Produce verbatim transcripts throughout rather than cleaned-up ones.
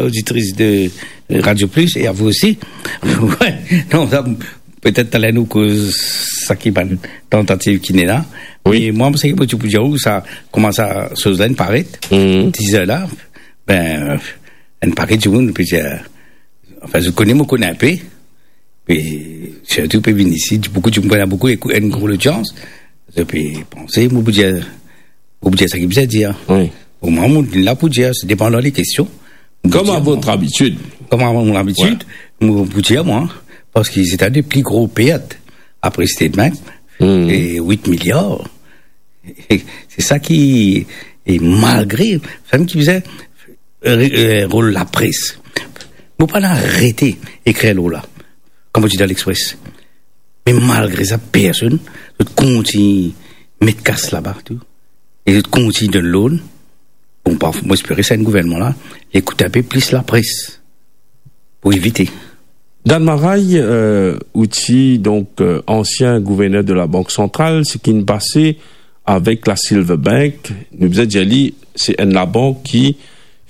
oditris de Radio Plus, e a vou osi. Wi, non, sa, petet taler nou koz sa ki bann tantativ ki ena la. Wi. Me mwa, seki mo ti pou dir ou sa, kouma sa soz la inn paret, Mhm. teaser la, be, enn pake dimoun, pe dir, anfin, zot kone, mo kone inpe, e sirtou pe vinn isi, boukou dimoun, ena boukou, ekou-, enn gro lodians, zot pe panse, mo pou dir, mo pou dir sa ki bizin dir. Wi. Omwin, mo la pou dir, se depandan lekestion. Mo pou dir, mwa, Comme à votre habitude. Comme à mon habitude, Ouais. mo pou dir, mwa, parski se enn de pli gro pert apre State Bank, Mhm. e wit miliar. Se sa ki, e malgre, sa mem ki bizin, e, e, rol lapres. Mo pa'nn arete ekrir lor la, kouma dir dan L'Express. Me malgre sa, personn, zot kontign met kas laba, tou. E zot kontign donn loan. Bon, pa, mo espere sa enn gouvernman la, li ekout inpe plis lapres pou evite. Dan Maray, euh, ou ti, donk, euh, ansien gouverner de la Bank Santral, seki inn pase avek la Silver Bank, nou bizin dir li, se enn labank ki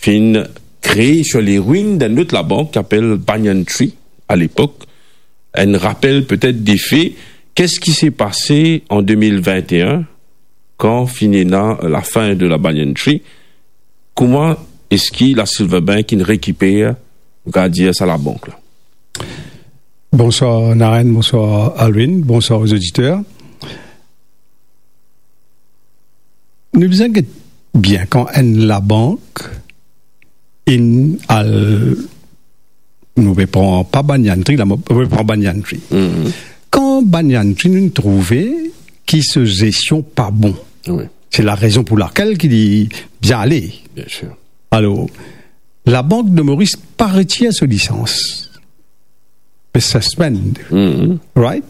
finn kree sir lerwinn d'enn lot labank ki apel Banyan Tree alepok. Enn rapel petet de fe, qu'est-ce qui s'est passé en deux mille vingt et un, kan finn ena lafin de la Banyan Tree? Kouma eski la Silver Bank inn rekiper, nou kapav dir, sa labank la? Bonswar Naren, bonswar Alwin, bonswar aux auditeurs. Nou bizin get bien kan enn labank inn al, nou pe pran pa Banyan Tree la, mo, nou pe pran Banyan Tree. Mhm. Kan Banyan Tree, nou trouve ki so zestion pa bon. Wi. Se larezon pou lakel ki li bizin ale. Bien sûr. Alor, Labank de Moris pa retir so lisans. Pe suspend. Mhm. Right?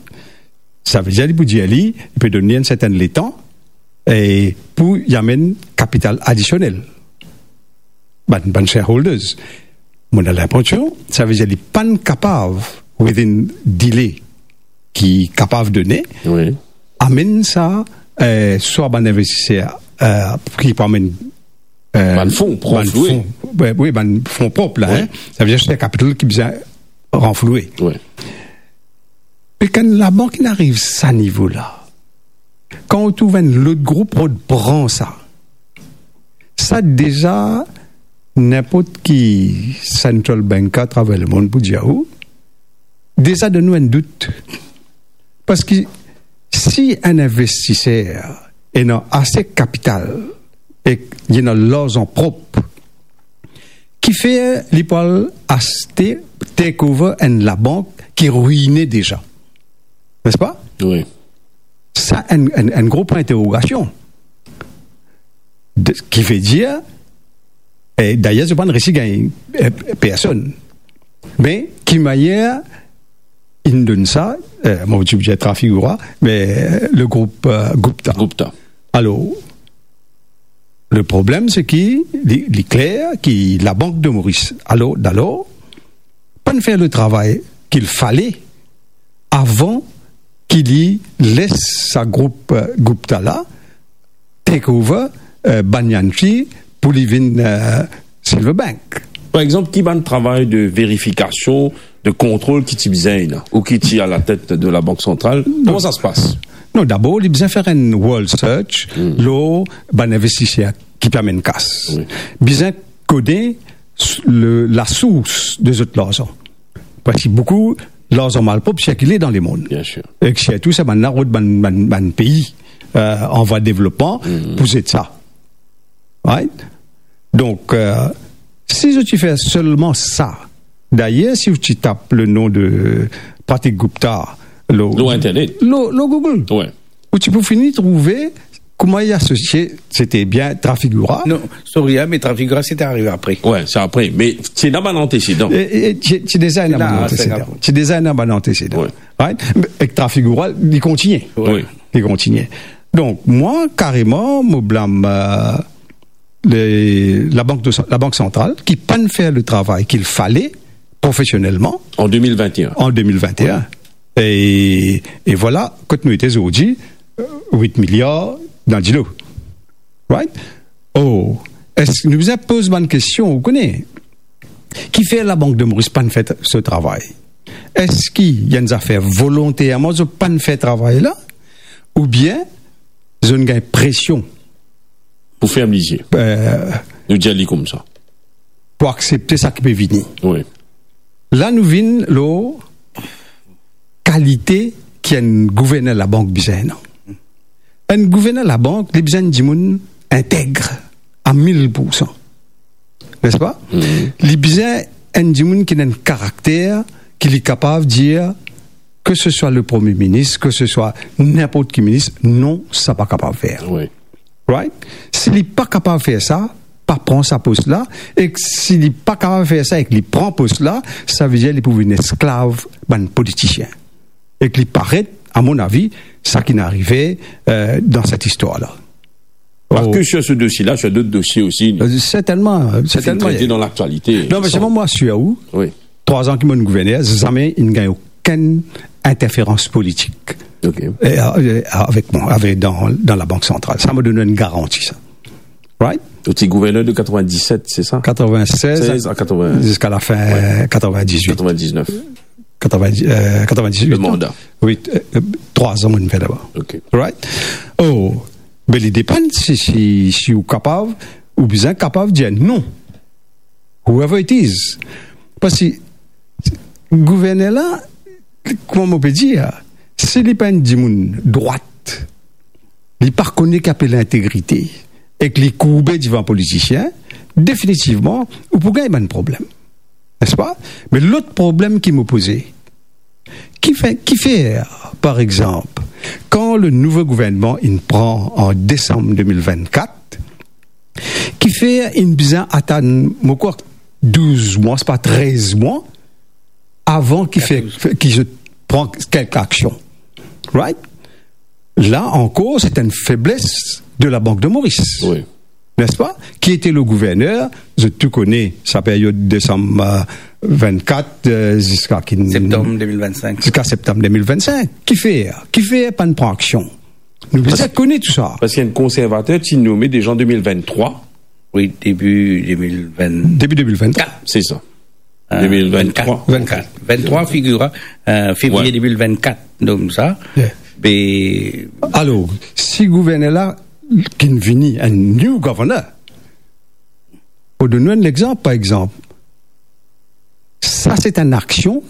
Sa ve dir li pou dir li, li pe donn li enn sertenn letan, e pou li amenn kapital adisionel. Bann, bann shareholders. Mo ena linpresion, sa ve dir li pa'nn kapav, within delay ki kapav done, Wi. amenn sa, eh, swa bann investiser, eh, ki pou amenn, eh, Bann fon, bann ranfloue. fon, wi, wi, bann fon prop la, Wi. en. Sa ve dir se kapital ki bizin ranfloue. Wi. Me kan labank inn ariv sa nivo la, kan ou trouv enn lot group rod pran sa, sa deza, ninport ki central banker atraver lemond pou dir ou, deza donn nou enn dout. Parski si enn investiser ena ase kapital ek li ena larzan prop, kifer li pou al aste, take over enn labank ki rwine deza? Nespa? Wi. Sa enn, enn, enn gro pwin interrogasion. De, ki ve dir, e dayer, zot pa'nn resi gagn, e, personn. Me ki manier inn donn sa, e, mo ti pou dir Trafigura, me, e, le group, e, Gupta. Gupta. Alor, le problem, se ki li, li kler ki Labank de Moris, alor, dalor, pa'nn fer le travay ki fale avan ki li les sa group, e, Gupta la take over, e, Banyan Tree pou li vinn, e, Silver Bank. Par exanp, ki bann travay de verifikasion, de kontrol ki ti bizin la, ou ki ti alatet de Labank Santral? Non. Kouma sa se pas? Non, dabor, li bizin fer enn world search Hmm. lor bann investiser ki pe amenn kas. Wi. Bizin kone s-, le, lasours de zot larzan. Parski boukou larzan malprop sirkile dan lemond. Bien sûr. Ek sirtou sa bann la rod bann, bann, bann pei, e, an vwa devlopman Hmm. pou zet sa. Right? Donk, e, si zot ti fer selman sa, dayer, si ou ti tap le nom de Pratik Gupta, lo, Lor internet. lo, lo Google, Wi. ou ti pou fini trouve kouma li asosie, sete bien Trafigura. Non, sorry, en, me Trafigura, sete arive apre. Wi, se apre. Me ti ena bann antesedan. E, e, ti, ti deza ena La, bann se antesedan. Ti deza ena bann antesedan. Wi. Right? Me ek Trafigura, li kontigne. Wi. Li kontigne. Donk, mwa, kareman, mo blam, e, le, Labank de, Labank Santral, ki pa'nn fer le travay ki fale profesionelman En deux mille vingt et un. en deux mille vingt et un. E, e vwala, kot nou ete zordi, e, wit miliar dan dilo. Right? Oh, eski nou bizin poz bann kestion, ou kone? Kifer Labank de Moris pa'nn fer so travay? Eski ena zafer volonterman zot pa'nn fer travay la, oubien zot inn gagn presion pou ferm lizie? Eh, nou dir li koumsa. Pou aksepte sa ki pe vini. Wi. La nou vinn lor kalite ki enn gouverner labank bizin ena. Enn gouverner labank, li bizin enn dimoun integ a mil poursan. Nespa? Mhm. Li bizin enn dimoun ki ena enn karakter ki li kapav dir, ke se swa le premie minis, ke se swa ninport ki minis, non, sa pa kapav fer. Wi. Right? Si li pa kapav fer sa, pa pran sa pos la, ek si li pa kapav fer sa ek li pran pos la, sa ve dir li pou vinn esklav bann politisien. Ek li paret, a mon avi, sa ki inn arive, eh, dan set istwar la. Pas ke sur ce dossier-là, sur d'autres dossiers aussi, euh, certainement, certainement. Trete dan laktialite. Non, me selman mwa, asir ou, wi, trwa an ki mo gouverner, zame inn gagn okenn interferans politik. Ok. Eh, eh, avek mwa, avek, dan, dan Labank Santral. Sa mo donn enn garanti, sa. Right? Ou ti gouverner de quatre-vingt-dix-sept, c'est ça? Quatre-vingt-seize à quatre-vingts. Ziska lafin, wi, quatre-vingt-dix-huit. Quatre-vingt-dix-neuf. Quatre-vingt-dix, euh, quatre-vingt-dix-huit. Le mandat. Wi, euh, euh, trwa an mo fer laba. Ok. Right? Oh, be li depann si, si, si ou kapav, ou bizin kapav dir non. Whoever it is. Parski gouverner la, kouma mo pe dir, si li pa enn dimoun drwat, li pa kone ki apel lintegrite, ek li kourbe divan politisien, definitivman, ou pou gagn bann problem. Nespa? Me lot problem ki mo poze, ki fer, ki fer, par exanp, kan le nouvo gouvernman inn pran an desam de mil vennkat, ki fer inn bizin atann, mo krwar, douz mwa, se pa trez mwa, avan ki fer, ki zot pran kelke aksion. Right? La ankor, se enn febles de Labank de Moris. Wi. Nespa? Ki ete le gouverner, zot tou kone sa peryod desam, euh, vennkat, euh, ziska ki... Septam de mil vennsenk. Ziska septam de mil vennsenk. Ki fer? Ki fer pa'nn pran aksion? Nou bizin kone tou sa. Parski enn konservater ti nome deja an de mil venntrwa. Wi, debi de mil vennkat. Debi de mil venntrwa. Se sa. Euh, de mil venntrwa. Vennkat. Venntrwa, figir, euh, fevriye, wi, de mil vennkat, nom sa. Yeah. Be... Alor, si gouverner la ki'nn vini, enn new governor, pou donn nou enn lexanp, par exanp, sa se enn aksion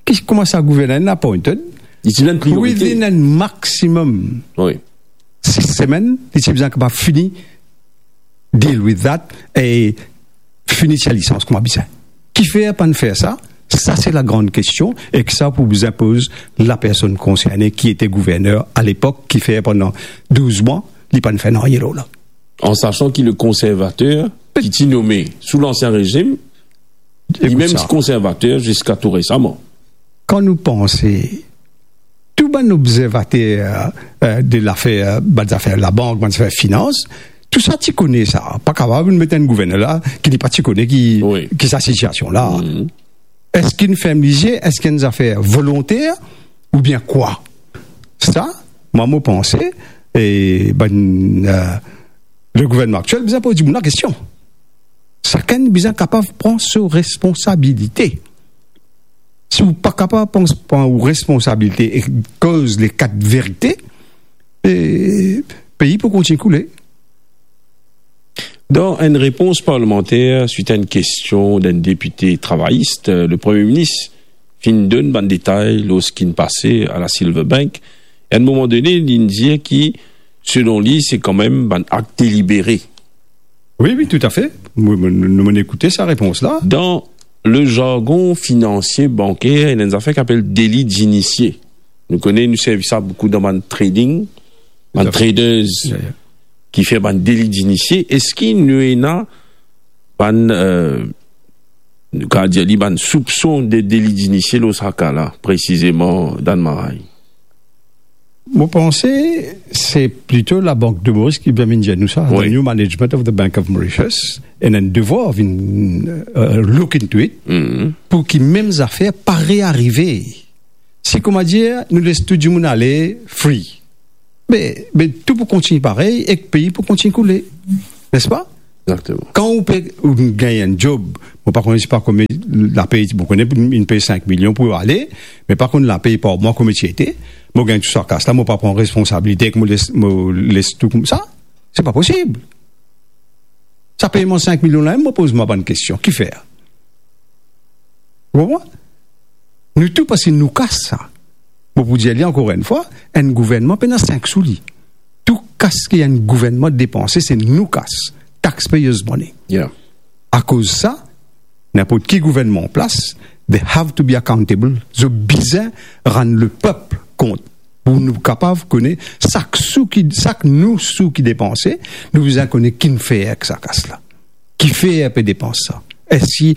ki koumsa gouverner inn appointed, li ti ena enn priorite. Within a maximum, wi, sis semenn, li ti bizin kapav fini deal with that e fini sa lisans kouma bizin. Kifer pa'nn fer sa? Sa se lagran kestion, ek sa pou bizin poz lapersonn konserne ki ete gouverner alepok, kifer pandan douz mwa, li pa'nn fer nanye lor la. An sasan ki le konservater ki ti nome sou lansien rezim, li mem ti konservater ziska tou resaman. Kan nou panse tou bann obzervater, euh, de lafer, bann zafer labank, bann zafer finans, tou sa ti kone sa. Pa kapav met enn gouverner la ki li pa ti kone ki, wi, ki sa sitiasion la. Mhm. Eski inn ferm lizie? Eski enn zafer volonter oubien kwa? Sa, mwa, mo panse, e bann, euh, le gouvernman aktiel bizin poz dimoun la kestion. Sakenn bizin kapav pran so responsabilite. Si ou pa kapav pran, pran ou responsabilite e koz le kat verite, e pei pou kontign koule. Dan enn repons parlimanter swit a enn kestion d'enn depite travayis, le Premie Minis finn donn bann detay lor seki pase a la Silver Bank. E a enn moman done, li'nn dir ki, selon li, se kanmem bann akt delibere. Wi, wi, toutafe. Mo, mo, nou, nou, mo'nn ekoute sa repons la. Dan le zargon finansie, banker, ena enn zafer ki apel deli dinisie. Nou kone, nou servi sa boukou dan bann trading, bann traders ki fer bann deli dinisie. Eski nou ena bann, euh, nou kapav dir li, bann soupson de deli dinisie lor sa ka la, presizeman, Dan Marais? Mo panse se plito Labank de Moris ki bizin vinn dir nou sa. Wi. The new management of the Bank of Mauritius, ena enn devwar vinn, euh, look into it, pou ki mem zafer pa rearive. Si, kouma dir, nou les tou dimoun ale free, be, be tou pou kontign parey ek pei pou kontign koule, nespa? Exactement. Kan ou pe, ou gagn enn job, mo pa kone si pa konbien lapey, mo kone pou inn pey sink milion pou ale, me pa konn lapey par mwa komie ti ete, mo gagn tou sa kas la, mo pa pran responsabilite ek mo les, mo les tou koumsa. Se pa posib. Sa peyman sink milion la, mo poz mwa bann kestion, kifer? Ou konpran? Nou tou, parski nou kas sa. Mo pou dir li ankor enn fwa, enn gouvernman pena sink sou li. Tou kas ki enn gouvernman depanse, se nou kas, taxpayers' money. Yeah. Akoz sa, ninport ki gouvernman an plas, they have to be accountable. Zot bizin rann lepep kont. Pou nou kapav kone sak sou ki, sak nou sou ki depanse, nou bizin kone ki'nn fer ek sa kas la. Kifer pe depans sa? Eski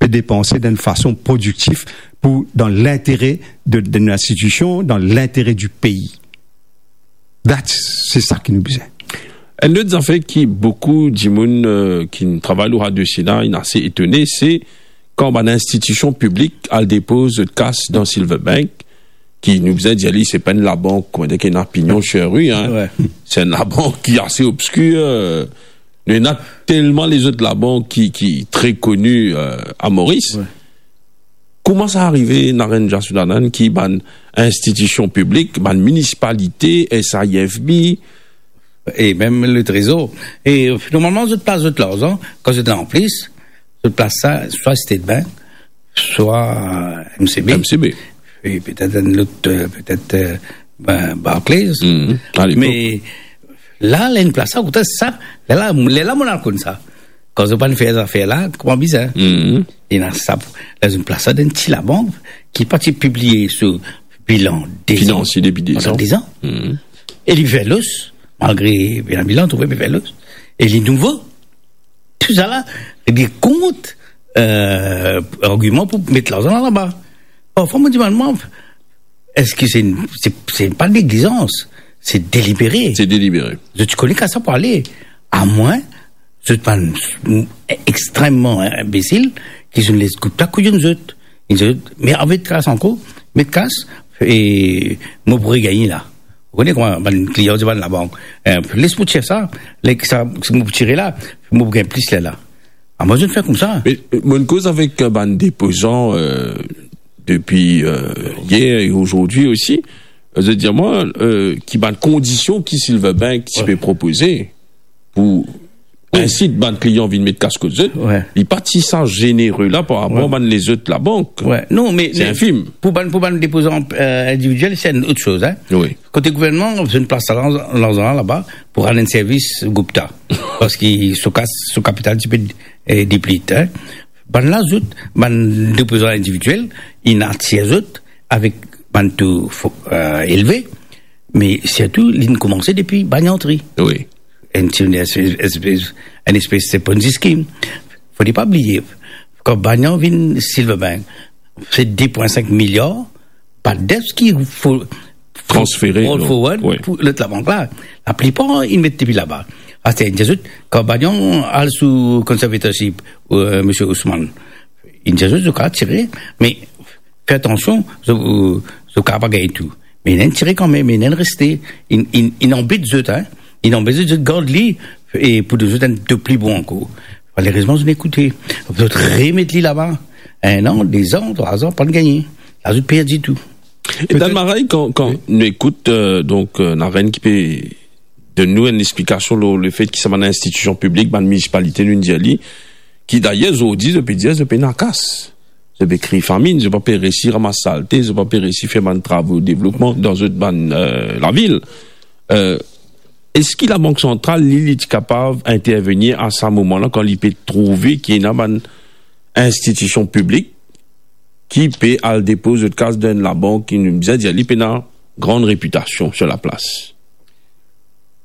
pe depanse dan enn fason prodiktif pou, dan lintere de, de linstitision, dan lintere di pei? That's, se sa ki nou bizin. Enn lot zafer ki boukou dimoun, euh, ki travay lor sa dosie la, inn ase etone, se kan bann institision piblik al depoz zot kas dan Silverbank, ki nou bizin dir li, se pa enn labank, koumadir ki ena pignon, cheri, hein. Ouais. Se enn labank ki ase obskir, euh, nou ena telman lezot labank ki, ki tre koni, euh, a Moris. Ouais. Kouma sa arive, Naren Jasoodhanand, ki bann institision piblik, bann minisipalite, S I F B, e mem le Trezor, e normalman, zot plas zot larzan, kan zot ena anplis, zot plas sa, swa State Bank, swa M C B. M C B. E petet enn lot, euh, petet, euh, ben, Barclays. Mhm. A lepok. Me la, la enn plas sa, kote sa, la, la, la, la, mo al konn sa. Kan zot pa'nn fer zafer la, kouma bizin. Mhm. Ena sa, la, zot plas sa dan enn ti labank ki pa ti pibliye so bilan dezan. Finansie depi dezan. Pandan dezan. Mhm. E li fer los, malgre bilan, bilan, trouve li fer los. E li nouvo. Tousala, li kont, euh, argiman pou met larzan laba. Parfwa, mo dimann mwa, eski se, se, se pa neglizans, se delibere. Se delibere. Zot ti kone kas sa pou ale. Amwin zot bann extrememan inbesil ki zot les group la kouyounn zot. Zot, me anvi kas ankor, met kas, e mo pou regagne la. Ou kone kouma bann klian dir bann labank, eh, les mo tir sa, les sa, mo pou tire la, mo pou gagn plis lerla. Ah, mo zot fer koumsa. Me, euh, mo'nn koz avek, euh, bann depozan, euh, depi, euh, yer e azordi osi. Euh, zot dir mwa, euh, ki bann kondision ki Silverbank ti pe propoze pou insit bann klian vinn met kas kot zot, li pa ti sa zenere la par rapor bann lezot labank. Non, me, se infim. Pou bann, pou bann depozan, euh, individiel, se enn lot soz, hein. Wi. Kote gouvernman, zot plas sa larzan, larzan la laba pou rann enn servis Gupta. Parski so kas, so kapital ti pe, eh, deplit, hein. Bann la, zot, bann depozan individiel, inn atir zot avek bann to fo-, euh, elve, me sirtou, li'nn koumanse depi Banyan Tree. Wi. Enn ti, enn espes, enn espes de Ponzi scheme. Fode pa bliye, kan Banyan vinn Silverbank, se de pwin sink miliar, pa debts ki fo-, transfere, roll forward pou lot labank la. Laplipar, inn met depi laba. Aster, inn dir zot, kan Banyan al sou conservatorship, euh, misie Ousmane, inn dir zot, zot kapav tire, me fer atansion, zot, zot kapav pa gagn tou. Me inn tire kanmem, inn reste, inn, inn, inn anbet zot, hein. Inn anbet zot, zot gard li, e pou zot enn de pli bon ankor. Malerezman, zot ekoute. Zot remet li laba. Enn an, dezan, trwa zan, pa'nn gagne. La, zot perdi tou. E dan maray, kan, kan nou ekout, euh, donk, euh, Naren ki pe donn nou enn explikasion lor lefet ki sa bann institision piblik, bann minisipalite, nou'nn dir li, ki dayer, zordi, zot pe dir, zot pena kas. Zot pe kriy faminn, zot pa pe resi ramas salte, zot pa pe resi fer bann travo devlopman dan zot bann, euh, lavil. Euh, eski Labank Santral, li, li ti kapav intervenir a sa moman la, kan li pe trouve ki ena bann institision piblik ki pe al depoz zot kas dan enn labank ki nou bizin dir li pena gran repitasion sir laplas?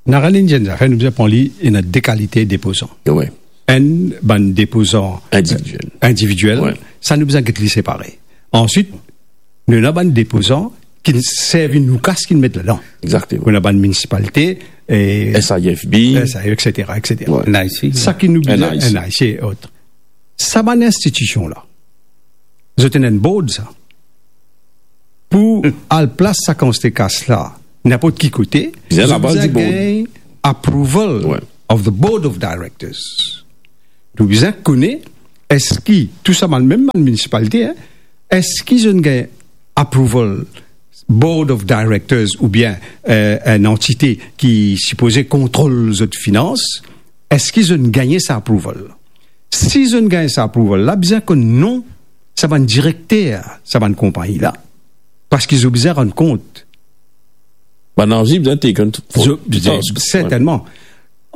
Naren inn dir enn zafer, nou bizin pran li, ena de kalite depozan. Wi. Enn, bann depozan, euh, individiel. Individiel. Wi. Sa nou bizin get li separe. Answit, nou ena bann depozan ki servi nou kas ki'nn met ladan. Exactement. Nou ena bann minisipalite, e S I F B. S I F B, et cetera, et cetera. Wi. N I C. Sa ki nou bizin, N I C. N I C et autres. Sa bann institision la, zot ena enn board sa. Pou al plas sa kantite kas la, ninport ki kote, bizin zot laba bizin di board. Gagn approval of the board of directors. Nou bizin kone Eski tou sa bann, mem bann minisipalite, hein, eski zot inn gagn approval, board of directors oubien, euh, enn antite ki sipoze kontrol zot finans, eski zot inn gagn sa approval? Si zot inn gagn sa approval la, bizin konn non sa bann direkter sa bann konpagni la, parski zot bizin rann kont. Bann avi bizin taken into, zot, zot, task, sertennman.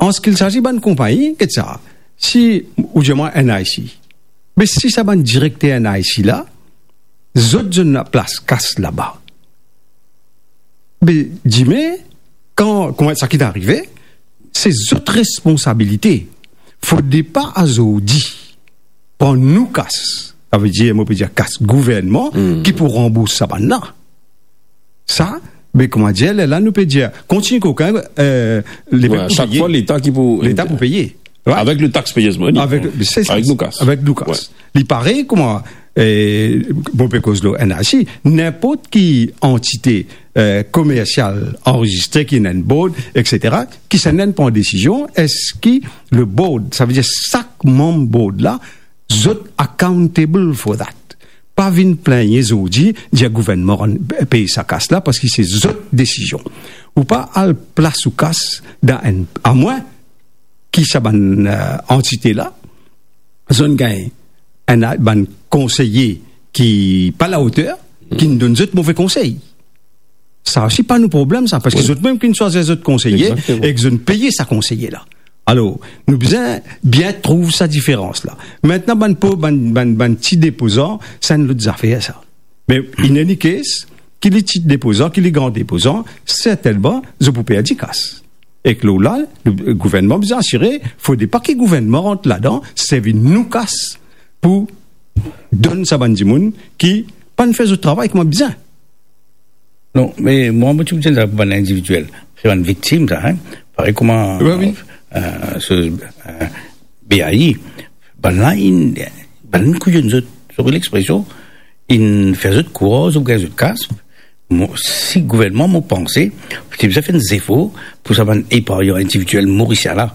An se ki sazi bann konpagni, get sa. Si, ou dir mwa, N I C. Me si sa bann direkter N I C la, zot, zot ena plas kas laba. Me dime, kan, kouma sa ki arive, se zot responsabilite. Fode pa azordi pran nou kas, savedir, mo pe dir kas gouvernman, ki pou ranbours sa bann la. Sa, be, kouma dir, lerla nou pe dir, kontign kokin, euh, Leta pou peye. Wi, sak fwa Leta ki pou, Leta pou peye. Wi. Avek le taxpayers' money. Avek, se sa, avek nou kas. Avek nou kas. Wi. Li parey kouma, euh, bon, pe koz lor N I C, ninport ki antite, euh, komersial anrezistre, ki ena enn board, et cetera, ki sa inn pran desizion, eski le board, savedir sak manm board la, zot accountable for that. Pa vinn plengne zordi, dir gouvernman rann, pey sa kas la, parski se zot desizion. Ou pa al plas ou kas dan enn, amwin ki sa bann, euh, antite la, zot inn gagn enn, bann konseye ki pa laoter, ki inn donn zot move konsey. Sa osi pa nou problem sa, parski zot mem ki inn swazir zot konseye, egzakteman, e ki zot inn peye sa konseye la. Alor, nou bizin bien trouv sa diferans la. Mintnan, bann po-, bann, bann, bann ti depozan, sa enn lot zafer sa. Me in any case, ki li ti depozan, ki li gran depozan, sertennman, zot pou perdi kas. Ek lor la, le gouvernman bizin asire, fode pa ki gouvernman rant ladan, servi nou kas pou donn sa bann dimoun ki pa'nn fer zot travay kouma bizin. Non, me mwa, mo ti pou dir sa pou bann individiel. Se bann viktim, sa, hein. Parey kouma, wi, wi, euh, so, euh, B A I, bann la, inn, bann inn kouyonn zot, sorry lexpresion, inn fer zot krwar zot gagn zot kas. Mo, si gouvernman, mo panse, ti bizin fer enn zefor pou sa bann epargnan individiel morisien la.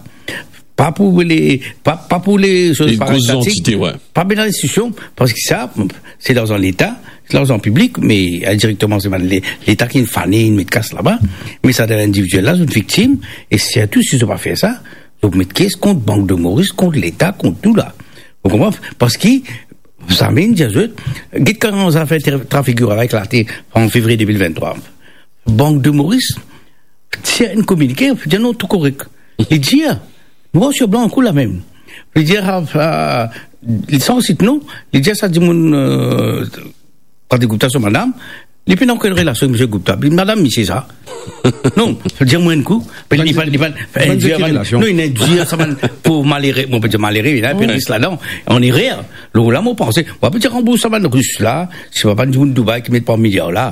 Pa pou le, pa, pa pou le, so, bann gro zantite, wi. Pa bann linstitisyon, parski sa, se larzan Leta, se larzan piblik, me, eh, indirekteman, se bann le-, Leta ki fane, inn met kas laba. Me sa dan lindividiel la, zot viktim, e sirtou si zot pa fer sa, zot met kes kont Bank de Moris, kont Leta, kont tou la. Ou konpran? Parski, zame inn dir zot, get kan zafer tra-, trafik la eklate an fevriye de mil venntrwa. Bank de Moris tir enn kominike, dir non, tou korek. Li dir, noir sur blanc, kou la mem. Li dir, ah, ah, li san sit non, li dir sa dimoun, euh, Patrick Gupta, so madam, li pena okenn relasion ek misie Gupta. Li madam misie sa. Non, dir mwa enn kou, li pa, li pa, non, li dir sa bann pov malere, mo pe dir malere, ena pe ris ladan, an erer. Lor la, mo panse, mo pa pe dir ranbours sa bann Ris la, se pa bann dimoun Dubai ki met par miliar la.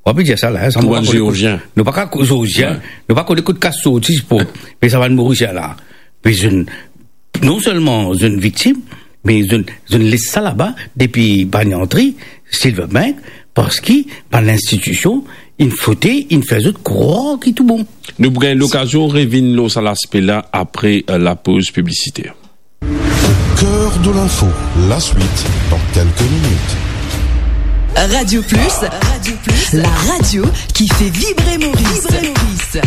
Ou pa pe dir sa la, hein, sa, nou pa kone kot, Zeozien. Nou pa ka ko-, Zeozien, wi, nou pa kone kot kas sorti pou, me sa bann Morisien la. Me zot inn, non selman zot inn viktim, me zot inn, zot inn les sa laba depi bann antri, Silverbank, parski bann linstitisyon inn fote, inn fer zot krwar ki tou bon. Nou pou gagn lokazion revinn lor sa laspe la apre, euh, lapoz piblisiter. Cœur de l'info, la suite dans quelques minutes. Radio Plus, Radio Plus, la radio qui fait vibrer Maurice. Vibrer Maurice.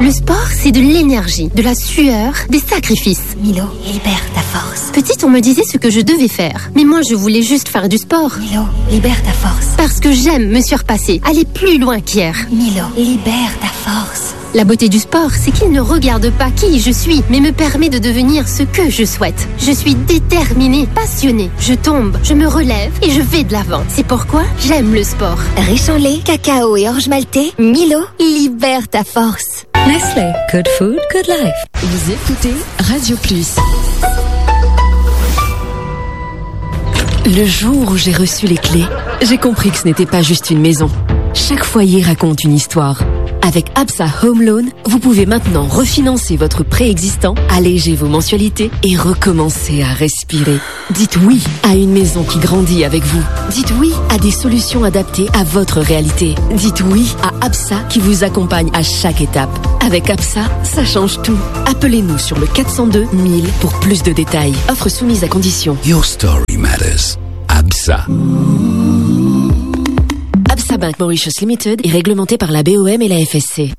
Le sport, c'est de l'énergie, de la sueur, des sacrifices. Milo, libère ta force. Petite, on me disait ce que je devais faire. Mais moi, je voulais juste faire du sport. Milo, libère ta force. Parce que j'aime me surpasser, aller plus loin qu'hier. Milo, libère ta force. La beauté du sport, c'est qu'il ne regarde pas qui je suis, mais me permet de devenir ce que je souhaite. Je suis déterminée, passionnée. Je tombe, je me relève et je vais de l'avant. C'est pourquoi j'aime le sport. Riche en lait, cacao et orge maltais, Milo, libère ta force. Nestlé, good food, good life. Vous écoutez Radio Plus. Le jour où j'ai reçu les clés, j'ai compris que ce n'était pas juste une maison. Chaque foyer raconte une histoire. Avec ABSA Home Loan, vous pouvez maintenant refinancer votre prêt existant, alléger vos mensualités et recommencer à respirer. Dites oui à une maison qui grandit avec vous. Dites oui à des solutions adaptées à votre réalité. Dites oui à ABSA qui vous accompagne à chaque étape. Avec ABSA, ça change tout. Appelez-nous sur le quatre cent deux mille pour plus de détails. Offre soumise à conditions. Your story matters. ABSA. ABSA Bank Mauritius Limited est réglementé par la B O M et la F S C.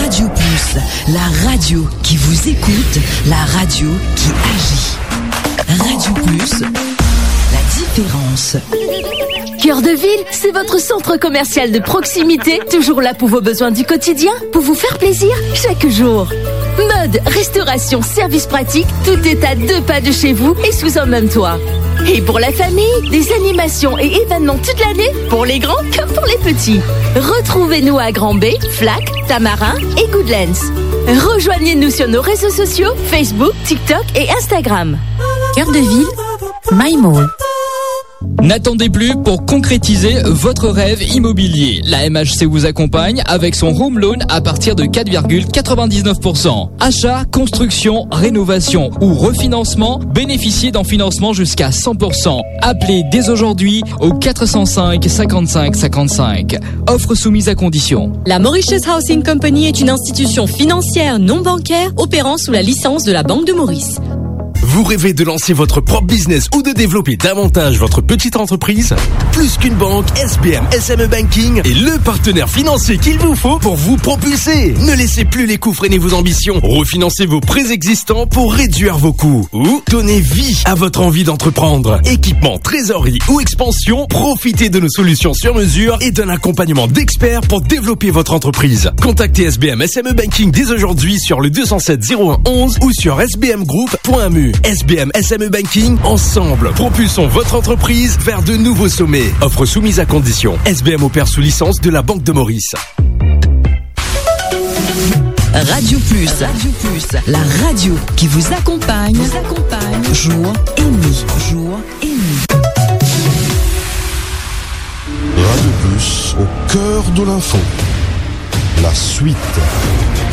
Radio Plus, la radio qui vous écoute, la radio qui agit. Radio Plus, la différence. Cœur de Ville, c'est votre centre commercial de proximité, toujours là pour vos besoins du quotidien, pour vous faire plaisir chaque jour. Mode, restauration, service pratique, tout est à deux pas de chez vous et sous un même toit. Et pour la famille, des animations et événements toute l'année, pour les grands comme pour les petits. Retrouvez-nous à Grand Baie, Flac, Tamarin et Goodlands. Rejoignez-nous sur nos réseaux sociaux, Facebook, TikTok et Instagram. Cœur de Ville, My Mall. N'attendez plus pour concrétiser votre rêve immobilier. La M H C vous accompagne avec son home loan à partir de quatre virgule quatre-vingt-dix-neuf pour cent. Achat, construction, rénovation ou refinancement, bénéficiez d'un financement jusqu'à cent pour cent. Appelez dès aujourd'hui au quatre cent cinq cinquante-cinq cinquante-cinq. Offre soumise à condition. La Mauritius Housing Company est une institution financière non bancaire opérant sous la licence de la Banque de Maurice. Vous rêvez de lancer votre propre business ou de développer davantage votre petite entreprise ? Plus qu'une banque, S B M S M E Banking est le partenaire financier qu'il vous faut pour vous propulser. Ne laissez plus les coûts freiner vos ambitions. Refinancez vos prêts existants pour réduire vos coûts ou donnez vie à votre envie d'entreprendre. Équipement, trésorerie ou expansion, profitez de nos solutions sur mesure et d'un accompagnement d'experts pour développer votre entreprise. Contactez S B M S M E Banking dès aujourd'hui sur le deux cent sept zéro un onze ou sur S B M group point M U. S B M S M E Banking, ensemble, propulsons votre entreprise vers de nouveaux sommets. Offre soumise à conditions. S B M opère sous licence de la Banque de Maurice. Radio Plus, Radio Plus, la radio qui vous accompagne, vous accompagne, jour et nuit, jour et nuit. Radio Plus, au cœur de l'info. La suite.